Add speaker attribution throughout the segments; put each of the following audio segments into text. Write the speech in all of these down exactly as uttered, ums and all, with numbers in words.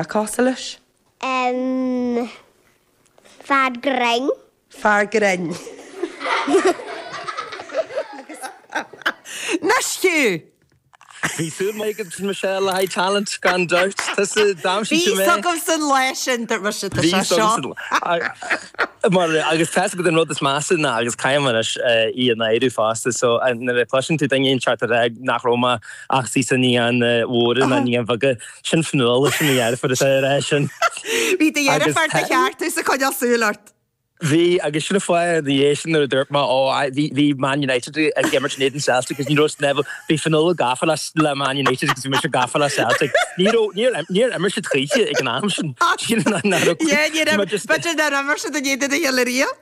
Speaker 1: Cosúil leis?
Speaker 2: Um, fear grinn.
Speaker 1: Fear grinn. Anois Hugh!
Speaker 3: Bhí súil mhaith agat Michelle le haghaidh talent gan dabht. Tusa d'aimsigh tú
Speaker 1: Bhí
Speaker 3: mé.
Speaker 1: fhios agam san lá sin dúirt mise tá
Speaker 3: Bhí
Speaker 1: sé
Speaker 3: fhios
Speaker 1: seo.
Speaker 3: agamsa mar agus tá fhios agat an rud is measa ná agus caithfidh mé anois í a náiriú fosta so nuair a chloiseann tú duine inteacht ag rá nach raibh mé ach sí sa naíonáin mhóra ná naíonáin bheaga sin Fionnuala sin mo dheirfiúr atá ag rá sin.
Speaker 1: Bhí do
Speaker 3: Agus
Speaker 1: dheirfiúr do cheartú is ag coinneáil súil ort.
Speaker 3: Bhí, agus sin an fáth ina dhiaidh sin nuair a dúirt mé, ó, bhí, bhí Man United ag imirt in éadan Celtic agus ní raibh Neville, bhí Fionnuala gafa le, le Man United agus bhí mise gafa le Celtic. Ní raibh, níor, níor imir siad choíche ag an am sin. Sílim nach, nach raibh,
Speaker 1: Yeah, ní raibh,
Speaker 3: mar just,
Speaker 1: b'fhéidir nár imir siad in éadan a chéile riamh.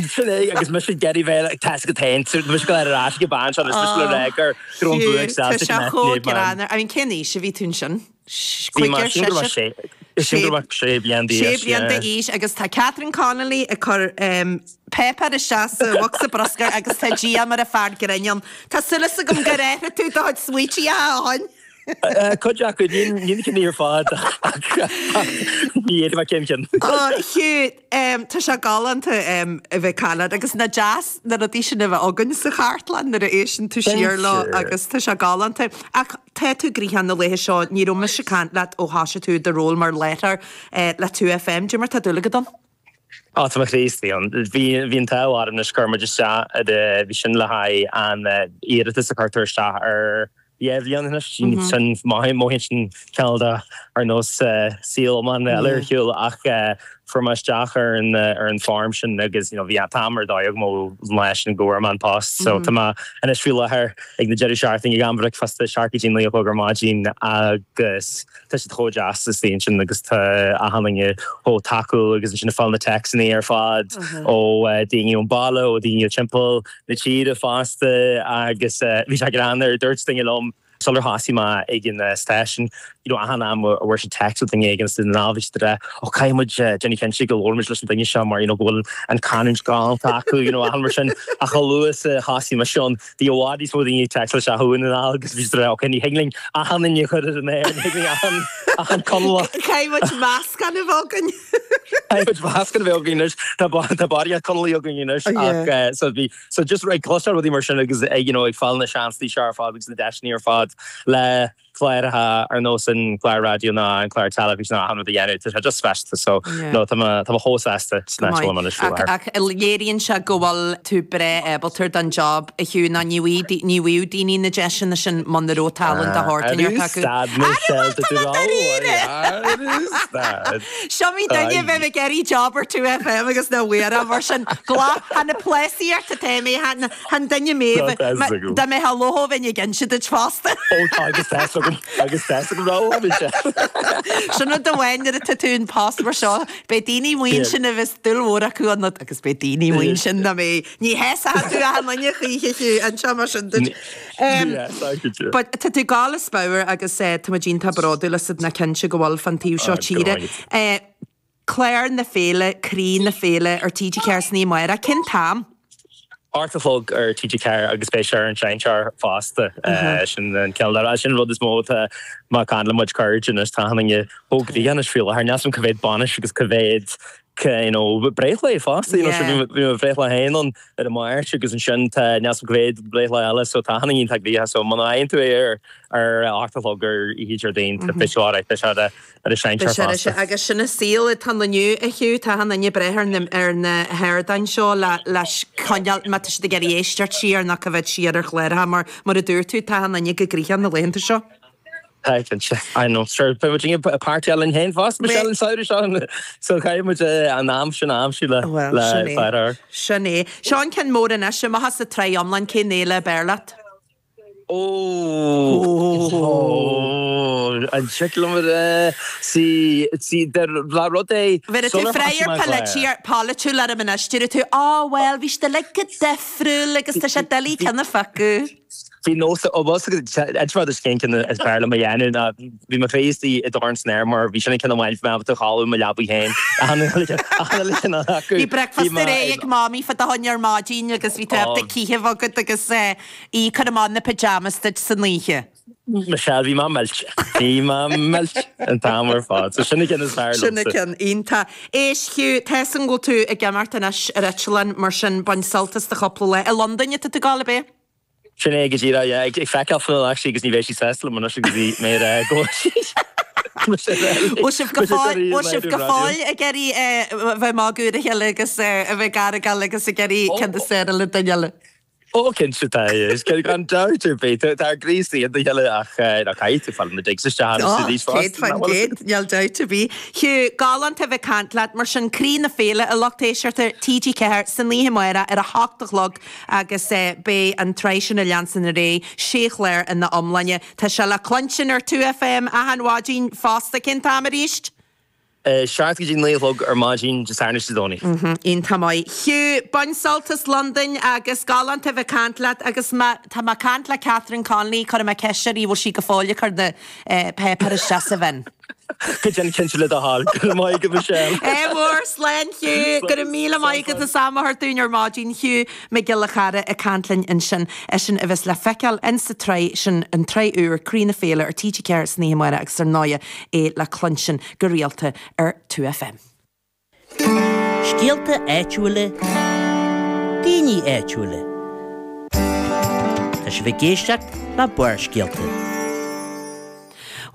Speaker 3: Sin é, agus mise ag iarraidh bheith like, tá fhios agat féin, so mise ag dul ar ais ag an bean seo agus mise le rá gur, go raibh an bua ag
Speaker 1: Hugh, tá
Speaker 3: Celtic
Speaker 1: sé
Speaker 3: in
Speaker 1: chomh
Speaker 3: éadan Man.
Speaker 1: greannmhar. I mean, cén aois a bhí tú ansin?
Speaker 3: Bhí mé,
Speaker 1: Cúigear,
Speaker 3: sílim go raibh mé
Speaker 1: seisear?
Speaker 3: sé, sílim go raibh mé sé bliain
Speaker 1: Sé
Speaker 3: d'aois,
Speaker 1: bliain
Speaker 3: yeah.
Speaker 1: d'aois agus tá Catherine Connolly ag cur páipéar isteach sa bhocsa bruscair agus tá díom ar an fear grinn ann. Tá súil agam gur athraigh tú do chuid smaointe a sheáin.
Speaker 3: Cuid acu, ní na cinn ar fad ach ní fhéadfaidh mé cén cinn.
Speaker 1: Ó, Hugh, tá sé galánta a bheith ag caint leat agus nach deas na rudaí sin a bheith againn sa chartlann nuair a éisteann tú siar leo agus tá sé galánta. Ach tá tú gnoitheach na laetha seo, ní raibh mise ag caint leat ó thosaigh tú do ról mar láithreoir le Two FM, cad é mar tá dúil agat ann?
Speaker 3: Á, tá mo chroí istigh ann. Bhí bhí an t-ádh orm anois chuir muid isteach bhí sin le haghaidh an iarratas a chuirtear isteach ar dhá bhliain anois. Sin mothaíonn sin cineál de ar nós saol iomlán eile ar shiúl ach fuair mé isteach ar an ar an form sin agus you know bhí an t-am ar dóigh agam ó lá sin go bhfuair mé an post. So tá mé anois faoi láthair ag na deireadh seachtaine ag am bricfeasta seacht go dtí naoi a chlog ar maidin agus tá siad chomh deas istigh ansin agus tá achan duine chomh tacúil agus ansin ag fáil na téacsanna ar fad ó daoine ón baile ó daoine timpeall na tíre fosta agus bhí sé greannmhar dúirt duine liom sular thosaigh mé ag an stáisiún you know achan am a bhfuair siad text ó duine éigin sa ndáil bhí siad ag rá ó caithfidh muid déanamh cinnte go labhraímid leis an duine seo mar you know go bhfuil an canúint galánta acu you know achan mar sin ach chomh luath is a thosaigh mise ann bhí i bhfad níos mó daoine ag text isteach chugainn an ndáil agus bhí siad ag rá ok ní thig linn achan duine a chur ar an aer ní thig linn achan achan Conallach
Speaker 1: Caithfidh muid meascán a bheith againn.
Speaker 3: Caithfidh muid meascán a bheith againn anois tá tá barraíocht Conallaigh againn anois ach so bhí so just ag cloisteáil rudaí mar sin agus ag you know ag fáil na seansanna seo ar fad agus na deiseanna ar fad le cláracha ar nós an clár raidió ná an clár teilifíse ná achan rud a dhéanamh tá sé just speisialta so no tá mé tá mé chomh sásta san áit a bhfuil mé anois faoi láthair.
Speaker 1: Ach léiríonn sé go bhfuil tú breá ábalta don job a Hugh ná ní bhfuigh ní bhfuigheadh daoine na deiseanna sin muna raibh tallann de shórt inteacht acu.
Speaker 3: Stad Michelle tá tú rá
Speaker 1: Seo mé duine a bheith ag iarraidh job ar Two FM agus na bhfuair mar sin gla Tá na pléasaíocht atá mé chan duine mé dá mbeifeá lóth bheinn ag inse duit fosta.
Speaker 3: Ó tá agus tá agam agus tá agam rá sé.
Speaker 1: Sin rud amháin nuair atá tú in post mar seo, beidh daoine amuigh ansin a bheas dúil mhór acu ionat agus beidh daoine amuigh ansin nach mbeidh ní shásaíonn tú achan duine choíche fiú anseo mar sin duit. But tá tú ag gabháil as pabhar agus tá muid iontach bródúil asat ná cinnte go bhfuil fán taobh seo tíre. Clár na Féile, Croí na Féile ar TG Ceathair san oíche amárach. Cén t-am?
Speaker 3: Ocht a chlog ar TG Ceathair agus beidh sé ar an seinnteoir fosta. Sin an cineál de, sin an rud is mó atá mé ag caint le mo chuid cairde anois, tá achan duine chomh gnoitheach anois faoi láthair. Níl 's agam cá mhéad bainis agus cá mhéad you know breithlá fosta, you know, sure bhí mo bhreithlá féin ann ar an Máirt agus ansin tá níl 's agam cá mhéad breithlá eile so tá achan duine iontach gnoitheach so muna bhfaigheann tú é ar ar a hocht a chlog ar oíche Déardaoin tá beidh sé alright, beidh sé ar an seinnteoir fosta.
Speaker 1: Agus sin an saol atá ann inniu a Hugh, tá achan duine breá ar na ar na hardáin seo le le coinneáil má tá siad ag iarraidh éisteacht siar nó coimhéad siar ar chláracha mar mar a dúirt tú tá achan duine go gnoitheach na laethanta seo.
Speaker 3: Tá cinnte. I know. Sure, beidh muid ag páirteáil linn féin fosta, Michelle, an samhradh seo. So caithfidh muid an am sin a aimsiú le
Speaker 1: Bhuel, sin é.
Speaker 3: clár a.
Speaker 1: Sin é. Seo an ceann mór anois, amach as an tsraith iomlán, cén fhéile ab fhearr leat?
Speaker 3: Ó, an dtig liom a rá, sí, sí, de le rud é,
Speaker 1: Bheir tú
Speaker 3: sular thosaigh
Speaker 1: freagra
Speaker 3: mé an clár.
Speaker 1: polaitiúil orm anois, déarfaidh tú, Á, bhuel, bhí siad uilig go difriúil agus tá sé doiligh ceann a phiocadh.
Speaker 3: Bhí nós, ó bhfuil 's agat, inseoidh mé duit cén ceann is fearr liom a dhéanamh ná bhí mo chroí istigh i dorn san aer mar bhí sin an ceann amháin bhí mé ábalta a chodladh i mo leabaidh féin. Achan uile achan uile cheann acu.
Speaker 1: Bhí
Speaker 3: Bhí
Speaker 1: bricfeasta
Speaker 3: mé
Speaker 1: réidh
Speaker 3: ag
Speaker 1: ag Mamaí fá do choinne ar maidin agus bhí tú ábalta cith a bheith agat agus í ag cur amach na pyjamas duit san oíche.
Speaker 3: Michelle bhí mé millte. Bhí mé millte an t-am ar fad. So sin an ceann is fearr
Speaker 1: Sin an
Speaker 3: liomsa.
Speaker 1: ceann iontach. Éist Hugh, tá 'fhios a'm go bhfuil tú ag imeacht anois ar eitleán mar sin bain sult as do chúpla lá. I Londain atá tú ag gabháil ab é?
Speaker 3: Sin é go díreach, yeah. Ag feiceáil Fionnuala actually agus ní bheidh sí sásta liom anois agus bhí mé ar go
Speaker 1: Bhfuil sibh go fóill bhfuil sibh go fóill ag iarraidh a bheith ag magadh ar a chéile agus a bheith ag argáil agus ag iarraidh ceann is fearr le duine eile?
Speaker 3: Ó cinnte tá gan dabht ar bith tá ár gcroí istigh ina chéile ach ná caithfidh tú fáil na digs isteach
Speaker 1: Ó,
Speaker 3: arís
Speaker 1: céad
Speaker 3: fosta,
Speaker 1: faoin
Speaker 3: nach bhfuil
Speaker 1: gcéad, níl dabht ar bith. Hugh, galánta a bheith ag caint leat, mar sin Croí na Féile, a lucht éisteachta T G Ceathair san oíche amárach ar a hocht a chlog agus beidh an tsraith sin ag leanstan ar aghaidh, sé chlár ina iomláine. Tá sé le cluinstin ar Two F M achan mhaidin fosta, cén t-am arís?
Speaker 3: Seacht go dtí naoi a chlog ar maidin Dé Sathairn is Dé Domhnaigh.
Speaker 1: Iontach maith. Hugh, bain sult as Londain agus galánta a bheith ag caint leat agus má tá mé ag caint le Catherine Connolly cuirfidh mé ceist uirthi bhfuil sí go fóill ag cur na páipéir isteach sa bhinn.
Speaker 3: Go déan cinnte le do thoil. Go raibh maith agat Michelle.
Speaker 1: Ádh mór, slán Hugh. Go raibh míle maith agat as am a thabhairt dúinn ar maidin Hugh Mac Giolla Chara ag caint linn ansin. Eisean a bheas le feiceáil in sa tsraith sin, an tsraith úr, Croí na Féile ar T G Ceathair san oíche amárach agus ar ndóighe é le cluinstin go rialta ar Two F M.
Speaker 4: Scéalta áitiúla, daoine áitiúla. Tá sibh ag éisteacht le Barrscéalta.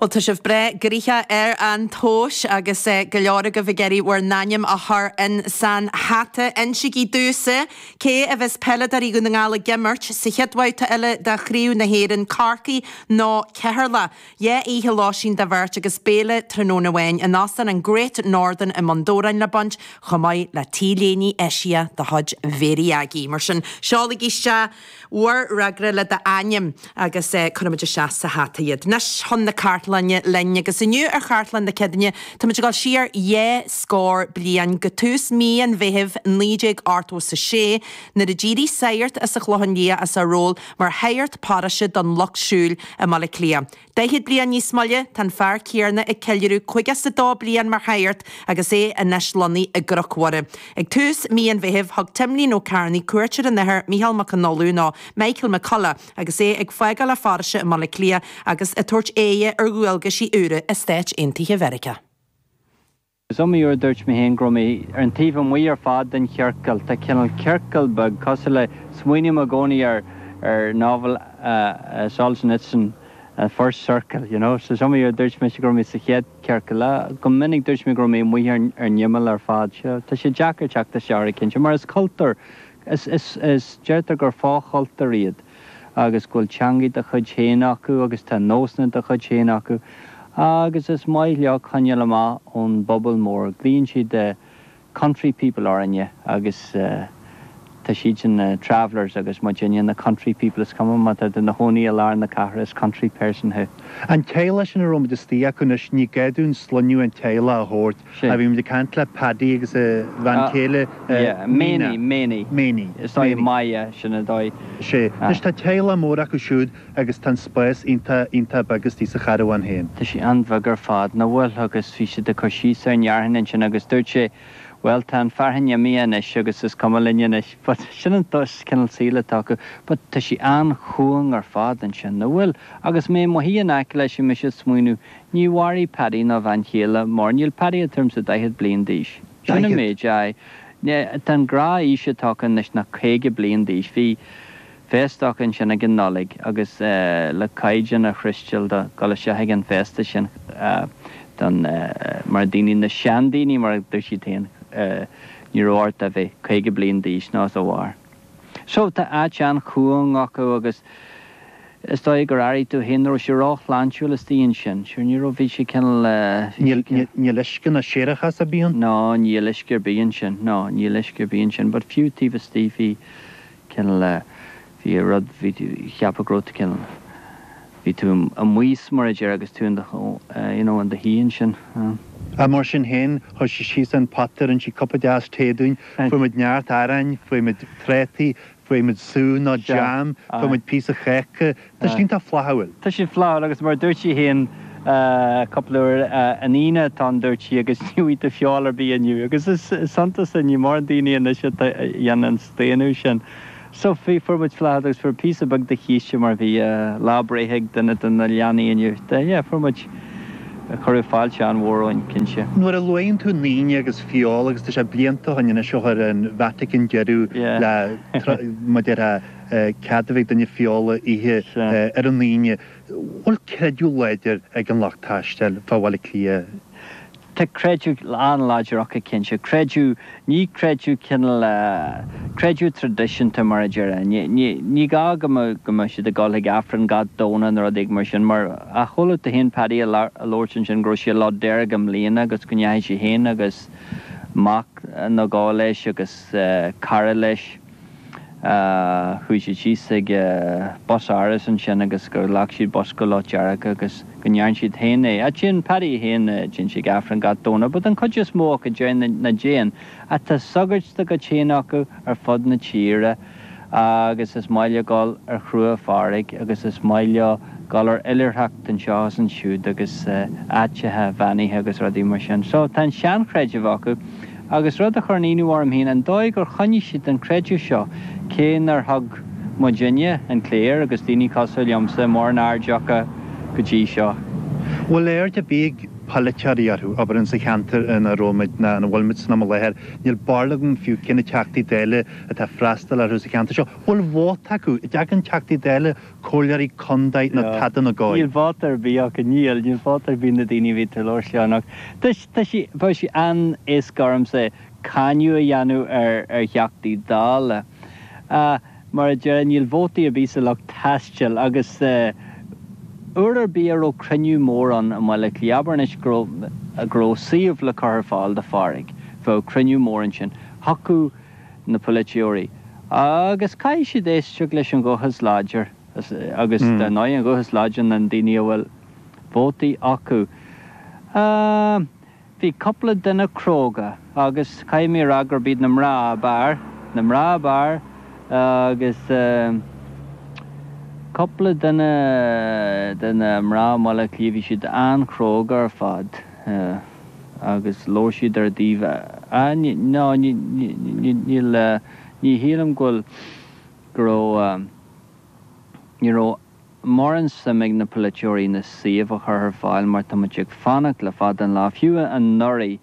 Speaker 1: Bhuel, tá sibh breá gnoitheach ar an tomhas agus go leor agaibh ag iarraidh bhur n-ainm a chur in san hata. Insígí domhsa cé a bheas peileadóirí Dhún na nGall ag imirt sa chéad bhabhta eile de Chraobh na hÉireann, Corcaigh nó Ceatharlach. Dhá oíche lóistín do bheirt agus béile tráthnóna amháin in Óstán an Great Northern i mBun Dobhráin le baint, chomh maith le T-léine eisiach de chuid Mhéirí Aggie. Mar sin, seolaigí isteach bhur bhfreagra le d'ainm agus cuirfimid isteach sa hata iad. Anois chun na cartlainne linn agus inniu ar Chartlann na Céadaoine táimid ag dul siar dhá scór bliain go tús mí an Mheithimh naoi déag ochtó is a sé nuair a d'éirigh sagart as an Chlochán Liath as a ról mar shagart paróiste don Lucht Siúil i mBaile Átha Cliath. Daichead bliain níos moille tá an fear céanna ag ceiliúradh caoga is a dó bliain mar shagart agus é anois lonnaithe i gCnoc Mhuire. Ag tús mí an Mheithimh thug Timlín Ó Cearnaigh cuairt ar an Athair Micheál Mac Con Uladh nó Michael McCullough agus é ag fágáil a pharóiste i mBaile Átha Cliath agus ag tabhairt aghaidhe ar dhualgaisí úra i Stáit Aontaithe Mheiriceá.
Speaker 5: Is iomaí uair a dúirt mé féin go raibh mé ar an taobh amuigh ar fad den chiorcal. Tá cineál ciorcal beag cosúil le, smaoiním i gcónaí ar ar novel Solzhenitsyn, First Circle, you know. So is iomaí uair a dúirt mise go raibh mé sa chéad chiorcal. Go minic dúirt mé go raibh mé amuigh ar an imeall ar fad. Tá sé deacair teacht isteach orthu cinnte, mar is cultúr, is, is, is, deirtear gur fo-chultúr iad agus go bhfuil teangaidh dá chuid féin acu agus tá nósanna dá chuid féin acu agus is maith leo coinneáil amach ón bpobal mór. Glaonn siad the country people orainne agus tá siadsan na travellers agus muidinne na country people. Is cuma má tá tú i do chónaí i lár na cathrach, is country person thú.
Speaker 6: An teaghlach sin a raibh muid istigh acu anois, ní gá dúinn sloinneadh an teaghlaigh a thabhairt.
Speaker 5: Sin.
Speaker 6: Bhí muid ag caint le Paddy agus a bhean chéile,
Speaker 5: Yeah,
Speaker 6: Mina.
Speaker 5: Méiní, Méiní.
Speaker 6: Méiní.
Speaker 5: Is dóigh
Speaker 6: Méiní.
Speaker 5: Maia, sin an dóigh.
Speaker 6: Sea. Anois tá teaghlach mór acu siúd agus tá an spás iontach, iontach beag istigh sa charbhán féin.
Speaker 5: Tá sé an-bheag ar fad, nach bhfuil, agus bhí siad ag cur síos ar an fhearthainn ansin agus dúirt sé, bhuel, tá an fearthainn imithe anois agus is cuma linn anois, but sin an cineál saoil atá acu, but tá sé an-chúng ar fad ansin, nach bhfuil? Agus mé i mo shuí in aice leis bhí mise ag smaoineamh, ní mhairfidh Paddy ná a bhean chéile mar níl Paddy tuairim 's daichead bliain d'aois. Sin an
Speaker 6: Daichead?
Speaker 5: méid, aye. Tá an gnáthaois atá acu anois ná caoga bliain d'aois. Bhí féasta acu ansin ag an Nollaig agus le caighdeán a shroichsteáil do dhul isteach ag an bhféasta sin don mar daoine, na seandaoine mar a dúirt siad féin, ní raibh ort a bheith caoga bliain d'aois nó os a bharr. So tá áit an-chúng acu agus is dóigh gur airigh tú féin, ní raibh sé ró-shláintiúil istigh ansin. Sure ní raibh, bhí sé cineál, bhí sé
Speaker 6: Níl, níl uisce ná séarachas ar bith ann?
Speaker 5: No, níl uisce ar bith ansin, no, níl uisce ar bith ansin, but fiú taobh istigh bhí cineál, bhí rud, bhí tú, cheapfá go raibh tú cineál, bhí tú amuigh mar a déarfá agus tú in do, you know, in do shuí ansin.
Speaker 6: Ach mar sin féin, chuir sí síos an pota, rinne sí cupa deas tae dúinn, fuair muid neart aráin, fuair muid trátaí, fuair muid sú nó jam, fuair muid píosa cáca. Tá siad iontach flaithiúil.
Speaker 5: Tá siad flaithiúil agus mar a dúirt sí féin cúpla uair, an Aoine atá ann dúirt sí agus ní bhfaighidh tú feoil ar bith inniu agus is iontas é, ní mórán daoine anois atá a dhéanann an staonadh sin. So bhí, fuair muid flaithiúlacht agus fuair píosa beag de chíste mar bhí lá breithe ag duine de na leanaí inniu. Yeah, fuair muid, cuireadh fáilte an-mhór romhainn, cinnte.
Speaker 6: Nuair a luann tú an Aoine agus feoil agus tá sé blianta ó shin anois ó chuir an Vatican deireadh le mar a déarfá cead a bheith ag duine feoil a ithe ar an Aoine, bhfuil creideamh láidir ag an lucht taistil fá Bhaile Átha Cliath?
Speaker 5: Tá creideamh an-láidir acu cinnte. Creideamh, ní creideamh cineál, creideamh traidisiúnta mar a déarfá. Ní, ní, ní gá go mbeadh, go mbeadh siad ag dul chuig Aifreann gach Domhnach nó rud éigin mar sin mar a chuala tú féin Paddy ag labhairt ansin go raibh sé Lá Dearg i mbliana agus go ndeachaigh sé féin agus mac nó dhó leis agus cara leis. Chuaigh siad síos ag bus áras ansin agus gur ghlac siad bus go Loch Dearg agus go ndearn siad féin é. Ach téann Paddy féin, téann sé ag Aifreann gach Domhnach, but an chuid is mó acu déarfainn nach dtéann. Ach tá sagairt dá gcuid féin acu ar fud na tíre agus is maith leo dul ar chrua farraige agus is maith leo dul ar oilithreacht anseo is ansiúd agus áiteacha beannaithe agus rudaí mar sin. So tá an seanchreideamh acu. Agus rud a chuireann ionadh orm féin, an dóigh gur choinnigh siad an creideamh seo, cé nár thug muidinne, an chléir agus daoine cosúil liomsa, mórán aird acu go dtí seo.
Speaker 6: Bhfuil aird ar bith ag polaiteoirí orthu, abair insa cheantar ina raibh muid, ná ina bhfuil muid san am i láthair? Níl barúil agam fiú cé na Teachtaí Dála atá ag freastal orthu sa cheantar seo. Bhfuil vóta acu? An dtagann Teachtaí Dála, comhairleoirí contae nó tada ina gcomhair?
Speaker 5: Níl vóta ar bith acu, níl, níl vóta ar bith na daoine a bhí ag labhairt leo anocht. Tá sé, bheadh sé an-éasca ormsa cáineadh a dhéanamh ar ar Theachtaí Dála. Mar a déarfá, níl vótaí ar bith sa lucht taistil agus uair ar bith a raibh cruinniú mór ann i mBaile Átha Cliath, abair anois go raibh go raibh suíomh le cur ar fáil do Phádraig, bheadh cruinniú mór ansin. Thiocfadh na polaiteoirí agus caithfidh siad éisteacht leis an ghuth is láidir agus dar ndóigh an guth is láidre ná na daoine a bhfuil vótaí acu. Bhí cúpla duine cróga agus caithfidh mé a rá gurb iad na mná ab fhearr, na mná ab fhearr agus cúpla duine de na mná i mBaile Átha Cliath, bhí siad an-chróga ar fad agus labhair siad ar a dtaobh. No, níl, ní shílim go bhfuil, go raibh, ní raibh. mórán suim ag na polaiteoirí na suímh a chur ar fáil mar tá muid ag fanacht le fada an lá. Fiú anuraidh,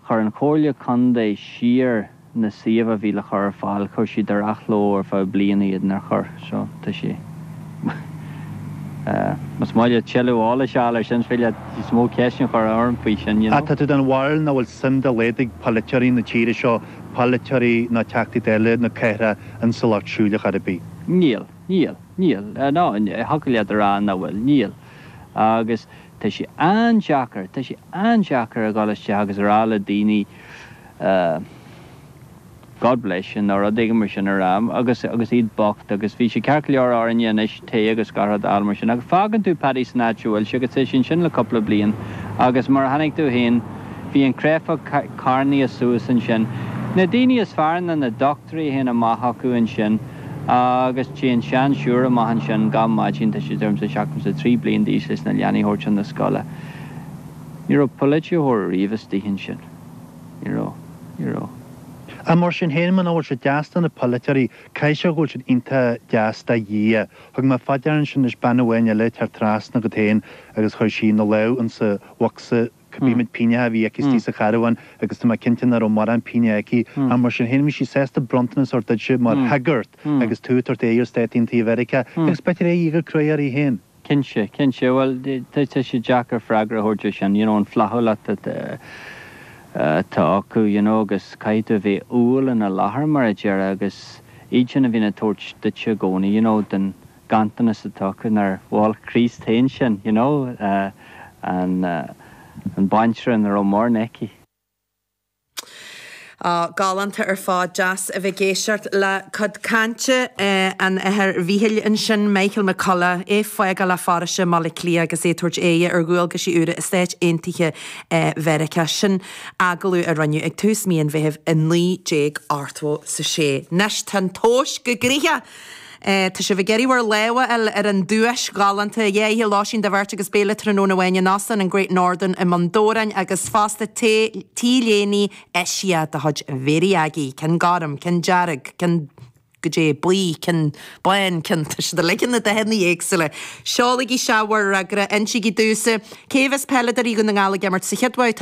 Speaker 5: chuir an Chomhairle Contae siar na suímh a bhí le chur ar fáil, chuir siad ar athló ar feadh bliana iad nár chuir. So, tá sé. Más maith leat tuilleadh eolais a fháil ar sin, is féidir leat níos mó ceisteanna a chur orm faoi sin, you know.
Speaker 6: Tá tú den bharúil nach bhfuil suim dá laghad ag polaiteoirí na tíre seo, polaiteoirí ná Teachtaí Dála na cathrach insa lucht siúil ar chor ar bith?
Speaker 5: Níl. Níl. Níl. No, thiocfadh leat a rá nach bhfuil. Níl. Agus tá sé an-deacair, tá sé an-deacair a dhul isteach agus a rá le daoine God bless you nó rud éigin mar sin a rá agus, agus iad bocht agus bhí sé ceart go leor orainne anois tae agus gach rud a fháil mar sin ach fágann tú Paddy san áit a bhfuil sé agus tá sé ansin le cúpla bliain agus mar a chonaic tú féin bhí an créafog carnaithe suas ansin. Na daoine is fearr ná na dochtúirí a théann amach acu ansin. Agus téann seansiúr amach ansin gach maidin, tá sí deirimse seachtó is a trí bliain d'aois leis na leanaí a thabhairt chun na scoile. Ní raibh polaiteoir riamh istigh ansin. Ní raibh. Ní raibh.
Speaker 6: Ach mar sin féin, muna bhfuil siad deas do na polaiteoirí, caithfidh sé go bhfuil siad iontach deas do Dhia. Thug mé fá deara ansin anois bean amháin eile ag teacht trasna agat féin agus chuir sí ina lámh insa bhocsa cibé méid pingneacha a bhí aici istigh sa charbhán agus tá mé cinnte nach raibh mórán pingneacha aici ach mar sin féin bhí sí sásta bronntanas a thabhairt duitse mar shagart agus tú ag tabhairt aghaidh ar Stáit Aontaithe Mheiriceá agus b'fhéidir é gur cruaidh uirthi féin.
Speaker 5: Cinnte, cinnte. Bhuel, tá sé deacair freagra a thabhairt ar sin, you know, an flaithiúlacht atá acu, you know, agus caithfidh tú a bheith umhal ina láthair mar a déarfá agus iad sin a bhíonn ag tabhairt duitse i gcónaí, you know, den ganntanas atá acu nár mhol Críost féin sin, you know, an an baintreach nach raibh mórán aici.
Speaker 1: Á, galánta ar fad, deas a bheith ag éisteacht le cuid cainte an Athar Mhíchíl ansin, Michael McCullough, é ag fágáil a pharóiste i mBaile Átha Cliath agus é ag tabhairt aghaidhe ar dhualgaisí úra i Stáit Aontaithe Mheiriceá. Sin agallamh a rinneadh ag tús mí an Mheithimh i naoi déag ochtó 's a sé. Anois tá an tomhas go gnoitheach! Tá sibh ag iarraidh bhur lámh a fháil ar an duais ghalánta, dhá oíche lóistín do bheirt agus béile tráthnóna amháin in Óstán an Great Northern i mBun Dobhráin agus fosta T-léine eisiach de chuid Mhéirí Aggie, ceann gorm, ceann dearg, ceann goidé buí, ceann bán, ceann, tá siad uilig ina dathanna éagsúla. Seolaigí isteach bhur bhfreagra, insígí domhsa cé bheas peileadóirí Dhún na nGall ag imirt sa chéad bhabhta.